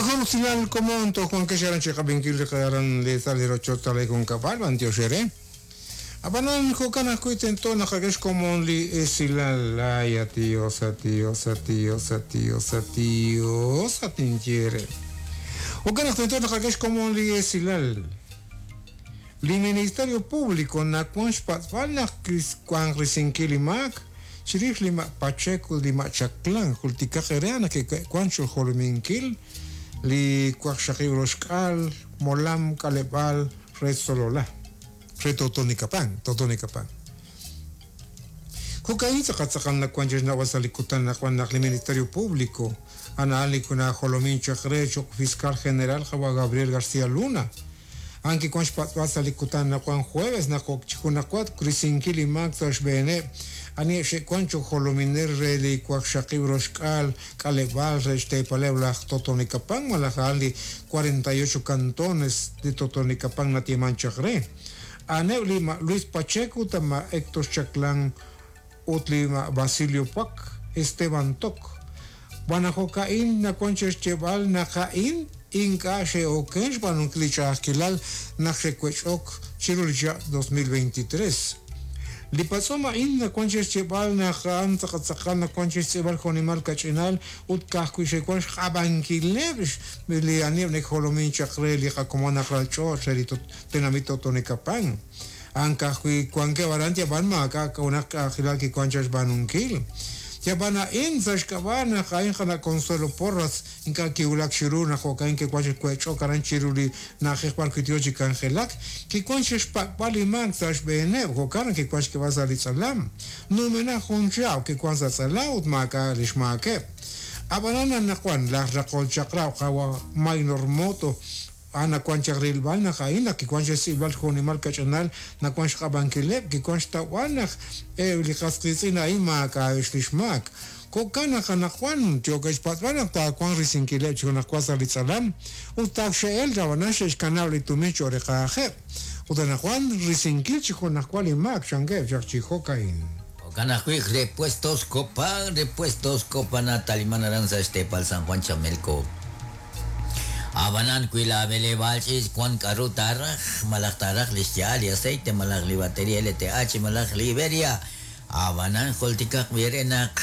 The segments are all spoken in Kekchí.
Jun usilal komon toj wankex aran chi qab'inkil li aran li sa' li rochoch sa' li junkab'al, b'antiox eere. Ab'anan jo'kan ajwi' tento naqak'e xkomon li esilal. Ay, at Dios, at Dios, at Dios, at Dios, at Dios, at ninye eere. Jo'kan naq tento naqak'e xkomon li esilal. Li Ministerio Público nawan xpatz'b'al naq wanq risinkil li maak chirix li ma' Pacheco ut li ma' Chaclán, jultikaq eere naq ke'wan xjolominkil li 60 molam k'aleb'aal re Sololá, re Totonicapán, Totonicapán. Jo'ka'in tz'aqal tz'aqal nawan chi xnawb'al sa' li kutan anaqwan naq li Ministerio Público a'an li najolomin chaq re cho'q Fiscal General qawa' Gabriel García Luna, A'an kiwan xpatz'b'al sa' li kutan anaqwan jueves naq ok chi junajwa risinkil li maak sa' xb'eeneb' aniheb' xe'wan cho'q jolominel re li 60 k'aleb'aal re xteepaleb' laj Totonicapán malaj a'an li 48 cantones li Totonicapán nayeeman chaq re. A'aneb' li ma' Luis Pacheco ut ma' Héctor Chaclán ut li ma' Basilio Puak, Esteban Toc. Xb'aan naq jo'ka'in nawan chixyeeb'al naq a'in ink'a' xe'oken xb'aanunkil li ch'a'ajkilal naq xe'wech'ok chiru li chihab' 2023. Li patz'om a'in nawan chixyeeb'al naq a'an tz'aqal nawan chixtz'iib'al jo'nimal kach'inal ut ka'ajwi' xe'wan xq'ab'ankileb' li aniheb' neke'jolomin chaq re li qakomon aj ralch'och' re li tenamit Totonicapán. A'an ka'ajwi' wankeb' aran yab'an maak'a' junaq k'a'ajilal kiwank chaq xb'aanunkil. Yab'an a'in sa' xk'ab'a' naq a'in qana' Consuelo Porras ink'a' kiwulak chiru naq jo'ka'in kiwank chi wech'ok aran chiru li na'ajej b'ar wi' yo chi k'anjelak, kiwank chi xpak'b'al li maak sa' xb'eeneb', jo'kan naq kiwank xk'eb'al sa' li tz'alam. Numenaq jun chihab' kiwank sa' tz'alam ut maak'a' li xmaakeb'. Ab'anan anaqwan laj raqol chaq'rab' qawa' Maynor Moto A'an nawank chaq rilb'al naq a'in naq kiwank xtz'iib'al jo'nimal kach'inal nawank xq'ab'ankileb', kiwank xtawb'al naq eb' li qas qiitz'in a'in maak'a'eb' li xmaak. Jo'kan naq anaqwan yookeb' xpatz'b'al naq taawanq risinkileb' chi junajwa sa' li tz'alam ut taak xe'elk ab'anan xe'xkanab' li tumin cho'q reqajeb'. Ut anaqwan risinkil chi junajwa li maak chankeb' chaq chi jo'ka'in. Jo'kan ajwi' Repuestos Copa, Repuestos Copa nataliman aran sa' xteepal San Juan Chamelco. Ab'anan wi laab'eleb'aal ch'iich' wank k'aru taaraj, malaj taaraj li xya'al li aceite malaj li bateria LTH malaj li Iberia, ab'anan jultikaq b'i eere naq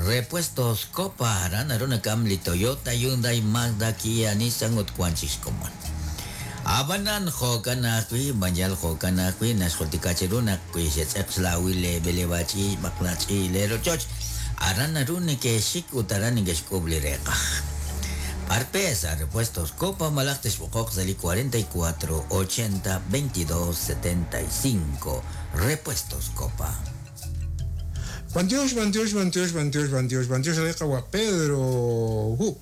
Repuestos Copa aran naru nak'am li Toyota, Hyundai, Mazda, Kia, Nissan ut wank chik xkomon. Ab'anan jo'kan ajwi', b'an yal jo'kan ajwi' naxjultika cheru naq wi xetz'eq xlaawil leeb'eleb'aal ch'iich' b'aqla ch'iich' leerochoch, aran naru neke'xik ut aran neke'xk'uub' li reeqaj. B'ar pe sa' Repuestos Copa malaj texb'oqoq sa' li 44 80 22 75 Repuestos Copa. B'antiox, b'antiox, b'antiox, b'antiox, b'antiox, b'antiox re qawa' Pedro Hu.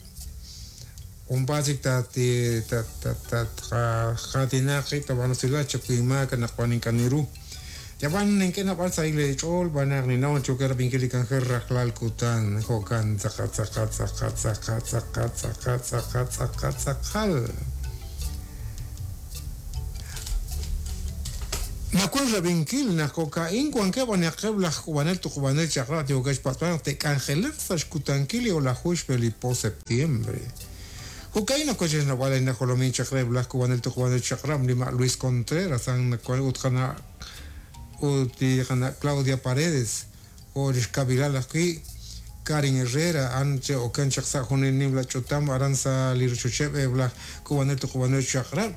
Junpaat chik tatqaatinaq qib' tab'anusilal chakuy maak anaqwan ink'a' ninru. Yab'an nink'e naab'al sahil eech'ool xb'aan naq ninnaw naq yookeb' rab'inkil li k'anjel rajlal kutan. Jo'kan tz'aqal tz'aqal tz'aqal tz'aqal tz'aqal tz'aqal tz'aqal tz'aqal tz'aqal. Nawank rab'inkil naq jo'ka'in wankeb' anihaqeb' laj k'uub'anel tuqub'anel chaq'rab' yookeb' xpatz'b'al naq te'k'anjelaq sa' xkutankil li o'laju xb'e li po septiembre. Jo'ka'in nawank chi xnawb'al li najolomin chaq reheb' laj k'uub'anel tuqub'anel chaq'rab' li ma' Luis Contreras a'an nawank ut qana' ut li qana' Claudia Paredes jo' li xkab'ilal ajwi' Karin Herrera a'an che'oken chaq sa' jun li nimla ch'utam aran sa' li rochocheb' eb' laj k'uub'anel tuqub'anel chaq'rab'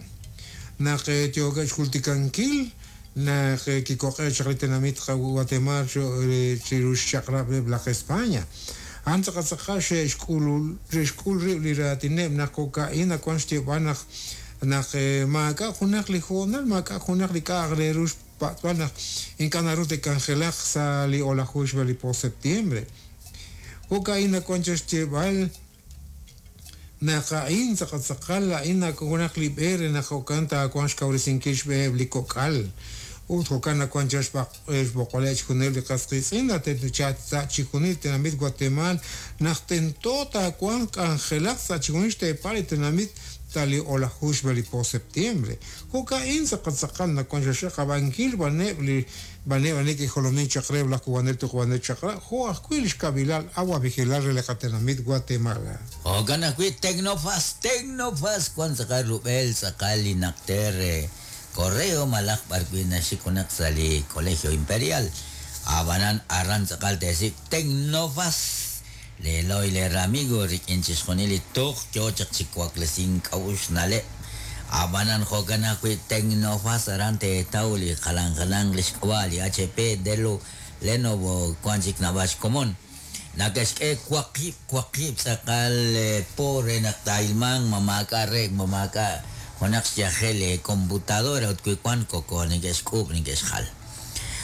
naq yookeb' xjultikankil naq kikoq'e' chaq li tenamit Guatemaal chiru xchaq'rab' eb' laj España. A'an tz'aqal tz'aqal xe'xk'ul rib' li raatineb' naq jo'ka'in nawank xyeeb'al naq naq maak'a' junaq li hoonal, maak'a' junaq li k'a'aq re ru xpatz'b'al naq ink'a' naru te'k'anjelaq sa' li o'laju xb'e li po septiembre. Jo'ka'in nawank chaq xyeeb'al naq a'in tz'aqal tz'aqal a'in junaq li b'e re naq jo'kan taawanq xkawresinkil xb'eheb' li kok'al. Ut jo'kan naq wan chaq xb'oqb'aleb' chixjunileb' li qas qiitz'in sa' chixjunil li tenamit Guatemala naq tento taawanq k'anjelaq sa' chixjunil xteepal li tenamit sa' li o'laju xb'e li po septiembre. Jo'ka'in tz'aqal naq wan xaqab'ankil b'aneb' li b'aneb' ani kijolomin chaq re laj Kubanel Tuqub'anel Chaq'rab' jo' ajwi' li xkabilal awab'ejilal re li qatenamit Guatemala. Jo'kan ajwi' Tecnofas, Tecnofas wan tz'aqal rub'el tz'aqal li naqter correo malaj b'ar wi' naxik junaq sa' li Colegio Imperial. Ab'anan aran tz'aqal te'sik Tecnofas leeloy leeramigo rik'in chixjunil li tuq yo chaq chi waklesink k'a'uxl na'leb'. Ab'anan jo'kan ajwi' Tecnofas aran teetaw li jalan jalan li xk'ab'a' li HP, Dell, Lenovo wan chik naab'al xkomon. Nake'xk'e waqib' tz'aqal po re naq taa'ilmanq ma maak'a' re ma maak'a' junaq xyajel computadora ut wi wan koko neke'xk'uub' neke'xjal.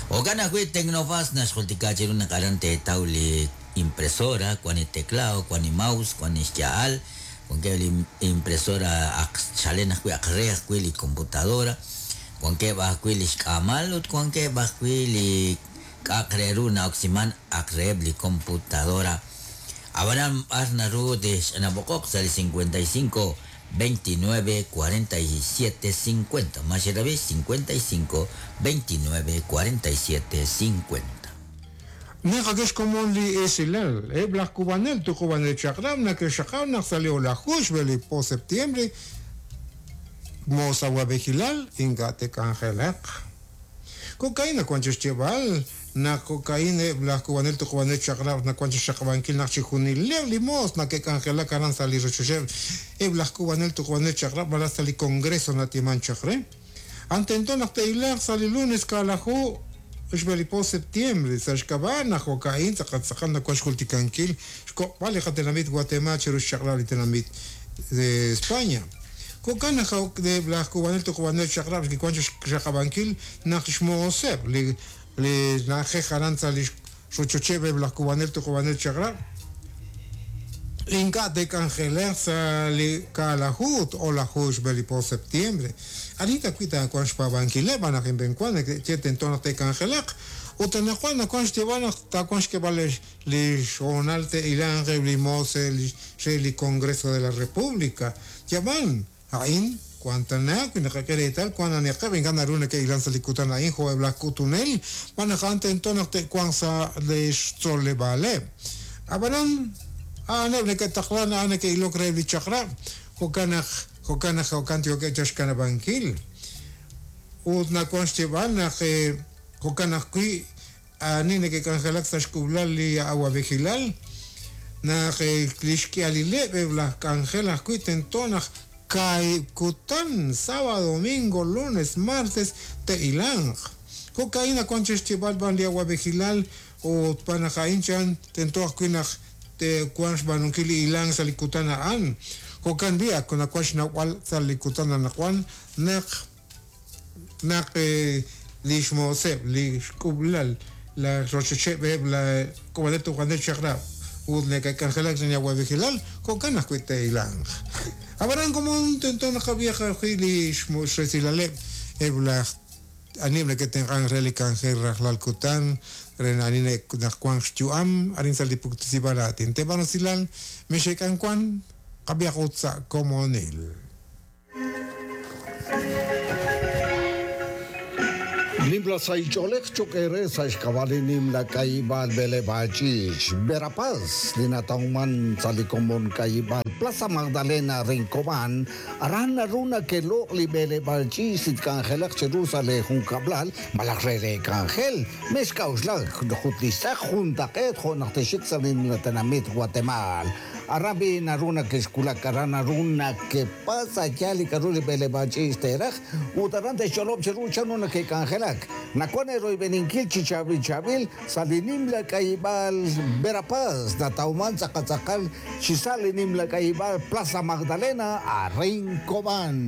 Jo'kan ajwi' Tecnofas naxjultika chiru naq aran teetaw li impresora, wan li teclado, wan li mouse, wan li xya'al, wankeb' li impresora aq chalen ajwi' aq re ajwi' li computadora, wankeb' ajwi' li xk'aamal ut wankeb' ajwi' li k'a'aq re ru na'oksiman aq reheb' li computadora. Ab'anan b'ar naru tixch'anab'oqoq sa' li 55 29 47 50. Más otra vez 55 29 47 50. Naqakex komon li esilal, laj Kubanel tuqub'anel chaq'rab' nakexaqab' naq sa' li o'laju xb'e li po septiembre mos awab'ejilal ink'a' te'k'anjelaq. Kokaina wan chi xyeeb'al naq kokaina eb' laj Kubanel tuqub'anel chaq'rab' naq wan chi xaqab'ankil naq chixjunileb' li moos nake'k'anjelak aran sa' li rochocheb' eb' laj Kubanel tuqub'anel chaq'rab' malaj sa' li Congreso natiman chaq re. Antento naq te'ilaq sa' li lunes kaalaju xb'e li po septiembre sa' xk'ab'a' naq jo'ka'in tz'aqal naq wan xjultikankil xkoq'b'al li qatenamit Guatemala chiru xchaq'rab' li tenamit de España. Jo'kan naq laj Kubanel tuqub'anel chaq'rab' kiwan chi xaqab'ankil naq xmooseb' li na'ajej aran sa' li rochocheb' eb' laj Kubanel tuqub'anel chaq'rab' ink'a' te'k'anjelaq sa' li kaalaju ut o'laju xb'e li po septiembre. Anita ajwi' taawanq xpaab'ankileb' naq inb'enwan neke'ye tento naq te'k'anjelaq ut anaqwan nawank xyeeb'al naq taawanq xk'eeb'al li xhoonal te'ilanq eb' li moos re li Congreso de la República. Yab'an a'in kuantana wi naqak'e reetal wan aniqeb' ink'a' naru neke'ilan sa' li kutan a'in jo' eb' laj k'utunel wan naq a'an tento naq te'wanq sa' li xtzoleb'aaleb'. Ab'anan a'aneb' neke'taqlan a'an neke'ilok reheb' li chaq'rab' jo'kan naq jo'kan yookeb' chaq xkanab'ankil. Ut nawank xyeeb'al naq jo'kan ajwi' ani neke'k'anjelak sa' xk'ub'lal li awab'ejilal naq li xk'ihalileb' eb' laj k'anjel ajwi' tento naq kaahib' kutan sábado, domingo, lunes, martes te'ilanq. Jo'ka'in nawank chi xyeeb'al b'an li awab'ejilal ut b'an naq a'in chan tento ajwi' naq te'wanq xb'aanunkil li ilank sa' li kutan a'an. Jo'kan b'i' ak nawank xnawb'al sa' li kutan anaqwan naq li xmooseb' li xk'ub'lal la rochocheb' eb' la Kubanel tuqub'anel chaq'rab' ut neke'k'anjelak sa' li awab'ejilal jo'kan ajwi' te'ilanq. Ab'anan komon tento naqab'iyaq ajwi' li xresilaleb' eb' laj ani neke'tenq'ank re li k'anjel rajlal kutan re ani naq wanq xyu'am arin sa' li puktesib'al aatin. Teeb'an usilal mexe'k'an wan qab'iyaq ut sa' komonil. Nimla saich'oolej cho'q re sa' xk'ab'a' li nimla k'ayib'aal b'eleb'aal ch'iich' Verapaz li natawman sa' li komon k'ayib'aal Plaza Magdalena Rincobán aran naru nake'loq' li b'eleb'aal ch'iich' li tk'anjelaq chiru sa' li junkab'lal malaj re re k'anjel mexk'a'uxlak jut li xtz'aq juntaq'eet jo' naq texik sa' li nimla tenamit Guatemala. Aran b'i naru nake'xkulak aran naru nakepasa ya li k'aru li b'eleb'aal ch'iich' te'raj ut aran te'xch'olob' chiru chanru nake'k'anjelak. Nawan eroyb'eninkil chi chaab'il chaab'il sa' li nimla k'ayib'aal Verapaz natawman tz'aqal chi sa' li nimla k'ayib'aal Plaza Magdalena a Rincobán.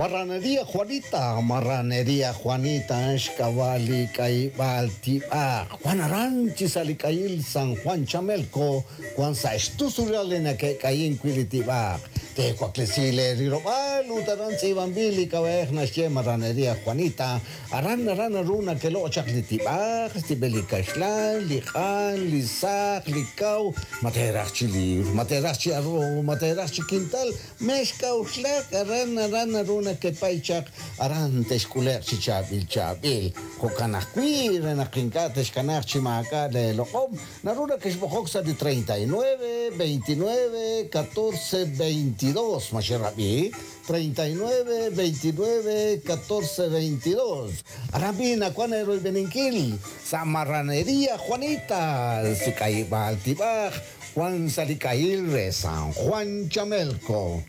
Marranería Juanita, Marranería Juanita, xk'ab'a' li k'ayib'aal tib'aq. Juan aran chi sa' li k'ayil San Juan Chamelco, Juan sa' xtusulal li nake'k'ayin wi' li tib'aq. Teewaklesi leerilob'aal ut aran tz'iib'anb'il li k'ab'a'ej naxye Marranería Juanita. Aran aran naru nakeloq' chaq li tib'aq, xtib'el li kaxlan, li q'an, li saq, li kaw, ma teeraj chi liwr, ma teeraj chi arroz, ma teeraj chi kintal, mexk'a'uxlak aran aran naru nakepay chaq aran texk'ule'q chi chaab'il chaab'il. Jo'kan ajwi' re naq ink'a' texkanaaq chi maak'a' leeloq'om, naru nakexb'oqok sa' li 39 29 14 22. Ma xerab'i? 39 29 14 22. Aran b'i nawan eeroyb'eninkil sa' Marranería Juanita, si k'ayib'aal tib'aj, Juan sa' li k'ayil re San Juan Chamelco.